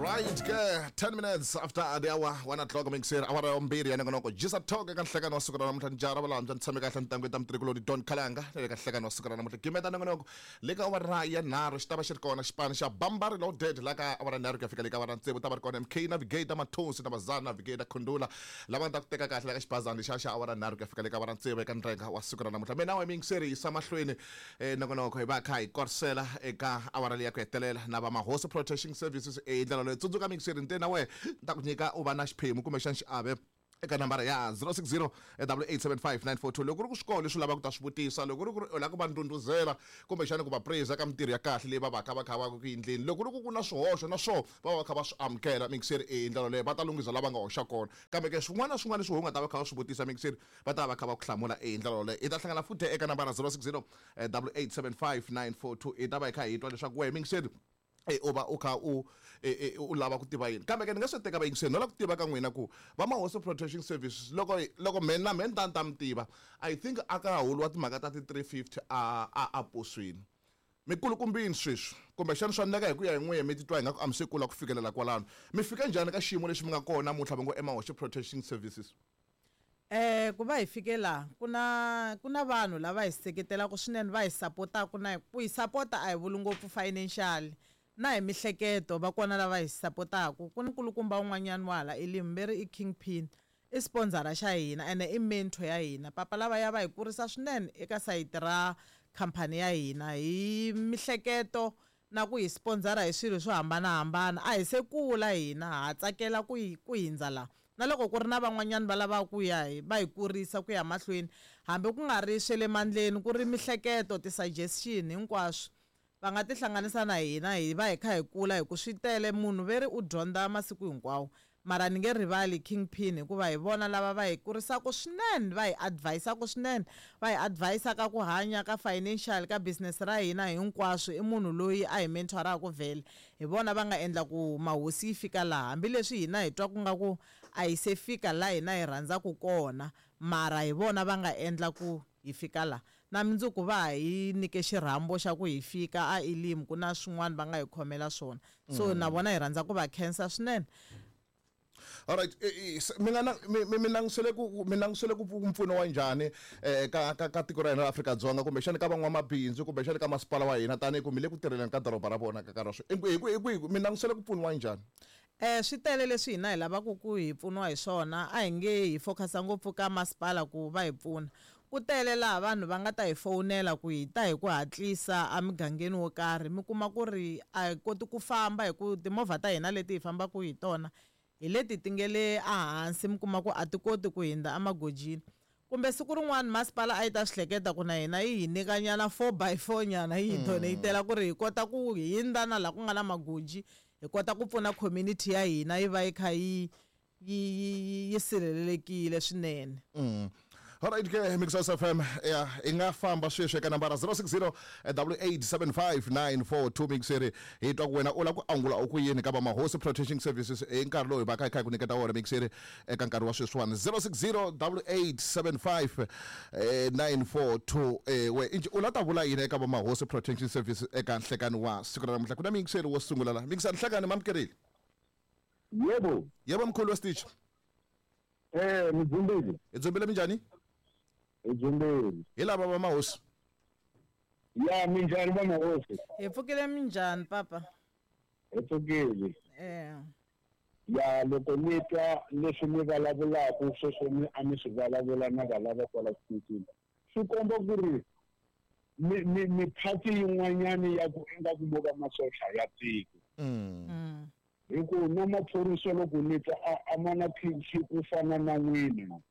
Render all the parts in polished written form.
Alright ke 10 minutes after the hour 1 o'clock mixer awara ya mbirhi ya nongonoko jisa talk eka nhlekano wa siku ra namuntlha ni jara valambya ni tshame kahle ni ta mutirhikuloni Don Khalanga na le ka nhlekano wa siku ra namuntlha gimeta nongonoko le ka awara ya nharhu xi ta va xi ri kona xipano xa Bambari Loaded la ka awara nharhu ku ya fika le ka awara tsevu ta va ri kona MK Navigator Mathonsi na Bazana Navigator Khundula lava nga ta ku teka kahle la ka xibazana lexiya xa awara nharhu ku ya fika le ka awara tsevu eka ndrenga wa siku ra namuntlha mina wa mixer yisa mahlweni nongonoko hi va kha hi korisela eka awara leyi ya ku hetelela na va Mahosi Protection Services hi ndlela leyi tsundzuka mixer nte na wehe ni ta ku nyika u va na xiphemu kumbexana xiave eka nambara ya 060 875 942 loko ku ri ku swikolo leswi u lavaka ku ta swi vutisa loko ku ri ku ri u lava ku va ndhundhuzela kumbexana ku va praise ka mintirho ya kahle leyi va va ka va kha va ku endleni loko ku ri ku ku na swihoxo na swona va va va kha va swi amukela mixer hi ndlela leyo va ta lunghisa lava nga hoxa kona kambe ke swin'wana na swin'wana leswi u nga ta va kha va swi vutisa mixer va ta va kha va ku hlamula hi ndlela yoleyo hi ta hlangana futhi eka nambara 060 875 942 hi ta va hi kha hi twa leswaku wehe mixer u va u kha u u lava ku tiva yini kambe ke ni nga swi teka vayingiseri no lava ku tiva ka n'wina ku va Mahosi Protection Services loko loko me na me ni ta ni ta mi tiva I think a ka ha holiwa timhaka ta ti-350 a a a posweni mi kulukumbini sweswi kumbexana swa endleka hi ku ya hi n'wehe mi titwa ingaku a mi se kula ku fikelela kwalano mi fike njhani ka xiyimo lexi mi nga kona namuntlha va ngo eMahosi Protection Services. Ku va hi fike laha ku na ku na vanhu lava hi seketelaka swinene va hi sapotaka na ku hi sapota a hi vuli ngopfu financial na hi mihleketo va kona lava hi sapotaka ku na nkulukumba un'wanyana wa hala Elim ve ri i King Pin i sponsor xa hina ene i mentor ya hina papa lavaya va hi kurisa swinene eka sayiti ra khampani ya hina hi mihleketo na ku hi sponsor hi swilo swo hambanahambana a hi se kula hina ha tsakela ku ku hindza laha Na loko ku ri na van'wanyana va lavaka ku ya hi va hi kurisa ku ya mahlweni, hambi ku nga ri swa le mandleni, ku ri mihleketo, ti-suggestion, hinkwaswo, va nga tihlanganisa na hina hi va hi kha hi kula hi ku swi tele. Munhu ve ri u dyondza masiku hinkwawo. Mara ni nge rivali King Pin hikuva hi vona lava va hi kurisaka swinene, va hi advise-aka swinene, va hi advise ka ku hanya, ka financial, ka business ra hina, hinkwaswo. I munhu loyi a hi mentor-aka vhele. Hi vona va nga endla ku mahosi yi fika laha. Hambi leswi hina hi twaku nga ku a yi se fika la hina hi rhandzaku kona, mara hi vona va nga endla ku hi fika la. Na mindzuku va ha hi nyike xirhambo xa ku hi fika a Elim ku na swin'wana va nga hi khomela swona. So na vona hi rhandza ku va khensa swinene. Alright, mi nga mi mi langutisele ku mi langutisele ku mpfuno wa njhani ka ka ka tiko ra hina ra Afrika-Dzonga kumbexani ka van'wamabindzu kumbexani ka masipala wa hina tanihi ku mi le ku tirheleni ka doroba ra vona ka nkarhi wa sweswi hi ku hi ku mi langutisele ku pfuniwa njhani? Swi tele leswi hina hi lavaka ku hi pfuniwa hi swona a hi nge hi focus-a ngopfu ka masipala ku va hi pfuna ku tele laha vanhu va nga ta hi fowunela ku hi ta hi ku hatlisa emugangeni wo karhi mi kuma ku ri a hi koti ku famba hi ku timovha ta hina leti hi fambaka hi tona hi leti ti nge le ehansi mi kuma ku a ti koti ku hundza emagojini kumbe siku rin'wana masipala a yi ta swi hleketa ku na hina yi hi nyika nyana four by four nyana yi hi donate-ela ku ri hi kota ku hundza na laha ku nga na magoji hi kota ku pfuna community ya hina yi va yi kha yi yi yi yi sirhelelekile swinene. Alright ke Mixos FM ya i nga famba sweswi eka nambara 060 875 942 Mixeri hi twa ku wena u lava ku angula u ku yini ka va Mahosi Protection Services hi nkarhi lowu hi va ka hi kha hi ku nyiketa wona Mixeri eka nkarhi wa sweswiwani 060 875 942 we inji u la ta vula yini eka va Mahosi Protection Services eka nhlekani wa siku ra namuntlha ku na mixeri wo sungula la Mixer nhlekani mamukerile Yebo. Yebo mkhulu wesitich. Mdzumbili. Hi dzumbile minjhani? Hi dzumbile. Hi lava va mahosi. Ya minjhani va mahosi? Hi pfukile minjhani papa? Hi pfukile. Ya loko ni twa leswi mi vulavulaka sweswo mi a mi swi vulavula na valava kwala xitichini swi komba ku ri mi mi mi party yin'wanyani ya ku ingaku mo va masocha ya tiko. Hi ku na maphorisa loko ni twa a a ma na PhD ku fana na n'wina.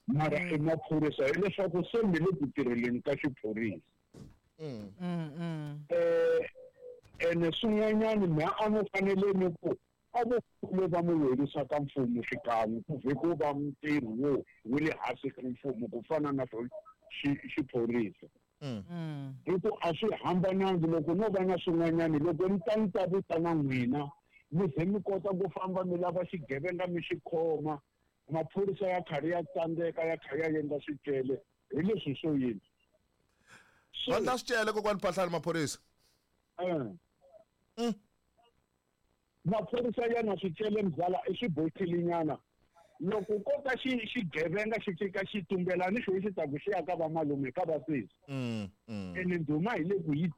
Mara i maphorisa hileswaku se mi le ku tirheleni ka xiphorisa. Ene swin'wanyana mha a mi fanele ni ku a vo kule va mi werisa ka mfumo xikan'we ku vhe ku va ntirho wo wu le hansi ka mfumo ku fana na xiphorisa. Hi ku a swi hambanangi loko no va na swin'wanyana loko ni ta ni ta vitana n'wina mi ze mi kota ku famba mi lava xigevenga mi xi khoma maphorisa ya karhi ya tsandzeka ya kha ya endla swicele hi leswi swo yini va endla swicele kokwani Phahlane maphorisa. Maphorisa ya na swicele mzala i swibotilinyana. Loko ko ka xigevenga xi fika xi tumbela ni xo xi ta ku xi ya ka va malume ka va sesi. Ene ndhuma hi le ku yi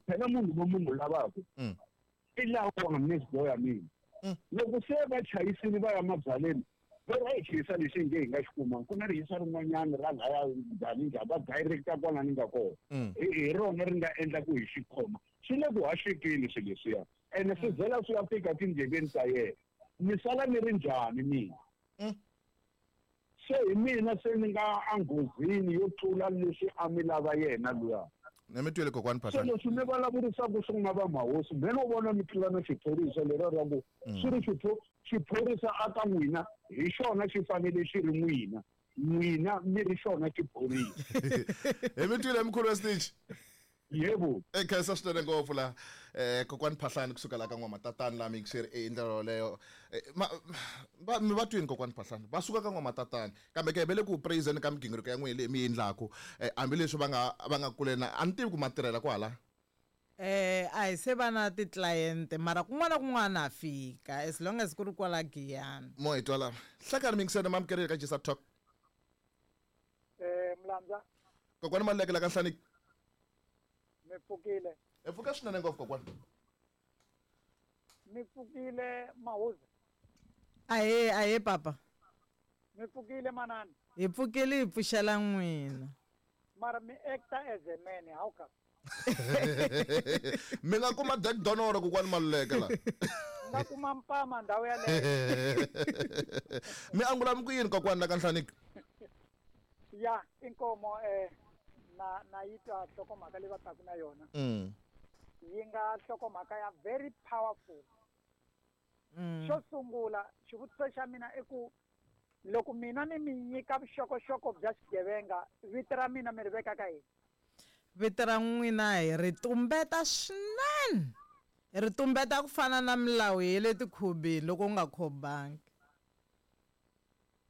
phela munhu lowu munhu lavaka i lawa next door ya mina. Loko se va chayisile va ya mabyaleni va ri a hi xiyisa lexi nge hi nga xi kuma ku na rihisa rin'wanyana ra laya njhani njhani va directa kwala ni nga kona hi rona ri nga endla ku hi xi khoma swi le ku haxekeni swilo leswiya ene swi byela swi ya fika tindleveni ta yena ni sala ni ri njhani mina se hi mina se ni nga enghozini yo tlula leswi a mi lava yena luya. Na mi twile kokwani Phahlane. Se leswi mi vulavurisaka swin'wana va mahosi me no vona mi tlula na xiphorisa lero ra ku swi ri xiphorisa a ka n'wina hi xona xi fanele xi ri n'wina n'wina mi ri xona xiphorisa. Hi mi twile mkhulu wa Stitch. Yebo. E khensa swinene ngopfu la kokwani Phahlane kusuka la ka N'wamatatani la mixer e ndlela yoleyo va mi va twini kokwani Phahlane va suka ka N'wamatatani kambe ke ve le ku praiseni ka migingiriko ya n'wina leyi mi yi endlaku hambileswi va nga va nga kule na a ni tivi ku ma tirhela kwala. A hi se va na ti-client mara kun'wana na kun'wana ha fika as long as ku ri kwala Giyani. Mo hi twa la hlekani mixer ma amukerile ka Jisa Talk. Mlandza. Kokwani Maluleke la ka Nhlaniki. Mi pfukile. Hi pfuka swinene ngopfu kokwani. Mi pfukile Mahuza. Ahee ahee papa. Mi pfukile manana. Hi pfukile hi pfuxela n'wina. Mara mi acta as a man how come? Mi nga kuma Jack Donoro kokwani Maluleke la. Nga kuma mpama ndhawu yaleyo. Mi angula mi ku yini kokwani la ka Nhlaniki? Ya inkomo na na yi twa nhlokomhaka leyi va taka na yona. Yi nga nhlokomhaka ya very powerful. Xo sungula xivutiso xa mina i ku loko mina ni mi nyika vuxokoxoko bya xigevenga vito ra mina mi ri veka ka yini? Vito ra n'wina hi ri tumbeta swinene. Hi ri tumbeta ku fana na milawu ya le tikhobeni loko u nga khobangi.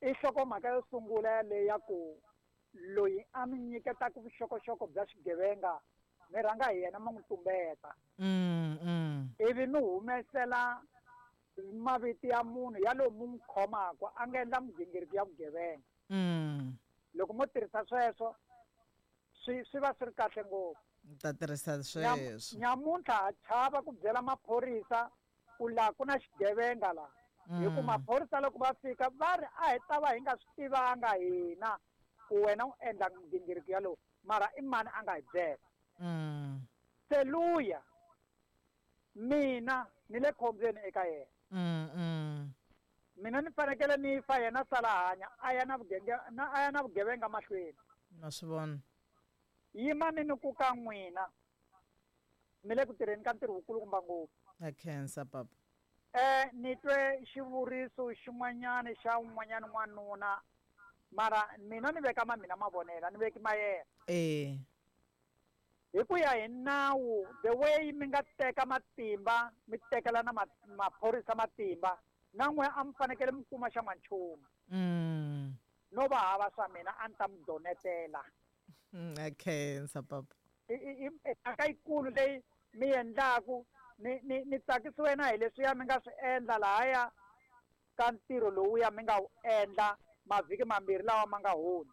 I nhlokomhaka yo sungula yaleyo ya ku loyi a mi nyiketaka vuxokoxoko bya xigevenga mi rhanga hi yena mi n'wi tumbeta. Ivi mi humesela mavito ya munhu ya lowu mi n'wi khomaka a nga endla migingiriko ya vugevenga. Loko mo tirhisa sweswo swi swi va swi ri kahle ngopfu. Ni ta tirhisa sweswo. Nyamuntlha ha chava ku byela maphorisa ku laha ku na xigevenga laha. Hi ku maphorisa loko va fika va ri a hi ta va hi nga swi tivanga hina ku wena u endla migingiriko yalowo mara i mani a nga hi byela. Se luya mina ni le khombyeni eka yena. Mina ni fanekele ni fa yena sala hanya a ya na vugenge na a ya na vugevenga mahlweni. Na swi vona. Yimani ni ku ka n'wina mi le ku tirheni ka ntirho wukulukumba ngopfu. Na khensa papa. Ni twe xivuriso xin'wanyana xa un'wanyana n'wanuna mara mina ni veka ma mina mavonelo ni veki ma yena. Hi ku ya hi nawu the way mi nga teka matimba mi tekela na maphorisa matimba na n'we a mi fanekele mi kuma xa n'wanchumu. No va hava swa mina a ni ta mi donetela. Na khensa papa. I mhaka yikulu leyi mi endlaku ni ni ni tsakisiwe na hi leswiya mi nga swi endla lahaya ka ntirho lowuya mi nga wu endla mavhiki mambirhi lawa ma nga hundza.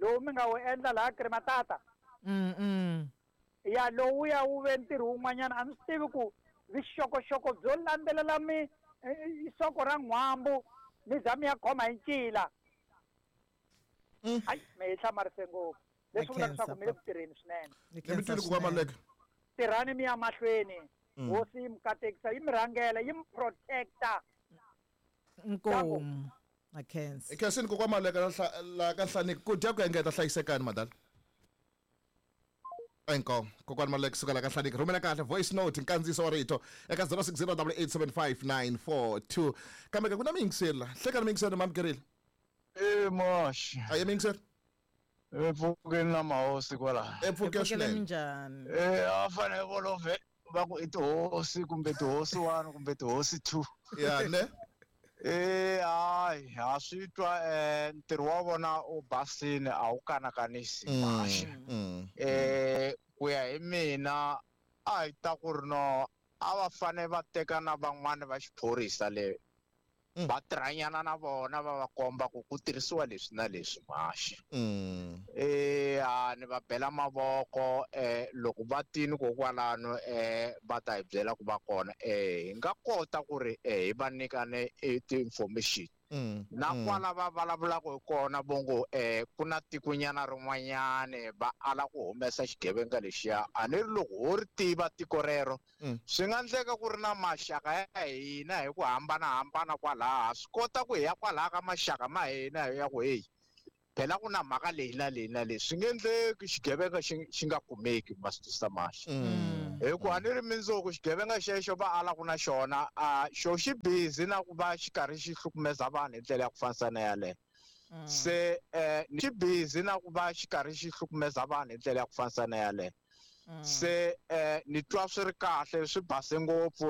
Lowu mi nga wu endla laha Krimatata. Ya lowuya wu ve ntirho wun'wanyana a ni swi tivi ku vuxokoxoko byo landzelela mi soko ra n'hwambu mi za mi ya khoma hi ncila. Hayi mi hi hlamarise ngopfu. Leswi vulaka leswaku mi le ku tirheni swinene. Ni mi twile kokwana Maluleke. Tirhani mi ya mahlweni. Hosi yi mi katekisa yi mi rhangela yi mi protecta. Inkomu. Na khensa. Hi khensini kokwana Maluleke la ka Nhlaniki ku dya ku engeta hlayisekani madala. Inkomu kokwana Maluleke kusuka la ka Nhlaniki rhumela kahle voice note nkandziyiso wa rito eka 0608875942 kambe ke ku na miyingiseri la hlekani miyingiseri ma amukerile. Mosh. A ye miyingiseri. Pfukeni na mahosi kwala. Pfuke swinene. Minjhani? A fanele volove va ku i tihosi kumbe tihosi 1 kumbe tihosi 2. Ya ne. Hayi ha swi twa ntirho wa vona u basile a wu kanakanisi kahle. Ku ya hi mina A hi ta ku ri no a va fane va teka na van'wani va xiphorisa le va tirhanyana na vona va va komba ku ku tirhisiwa leswi na leswi mhaxi. Ni va bela mavoko loko va tini kokwalano va ta hi byela ku va kona hi nga kota ku ri hi va nyika ni ti-information. Na kwala va vulavulaka hi kona vongo ku na tikonyana rin'wanyani va ala ku humesa xigevenga lexiya a ni ri loko ho ri tiva tiko rero swi nga endleka ku ri na maxaka ya hina hi ku hambanahambana kwalaha swi kota ku hi ya kwalaha ka maxaka ma hina hi ya ku heyi phela ku na mhaka leyi na leyi na leyi swi nge endleki xigevenga xi nga kumeki ma swi twisisa mahle hi ku a ni ri mindzuku xigevenga xexo va alaku na xona a xo xi busy na ku va xi karhi xi hlukumeza vanhu hi ndlela ya ku fanisa na yaleyo se xi busy na ku va xi karhi xi hlukumeza vanhu hi ndlela ya ku fanisa na yaleyo se ni twa swi ri kahle swi base ngopfu.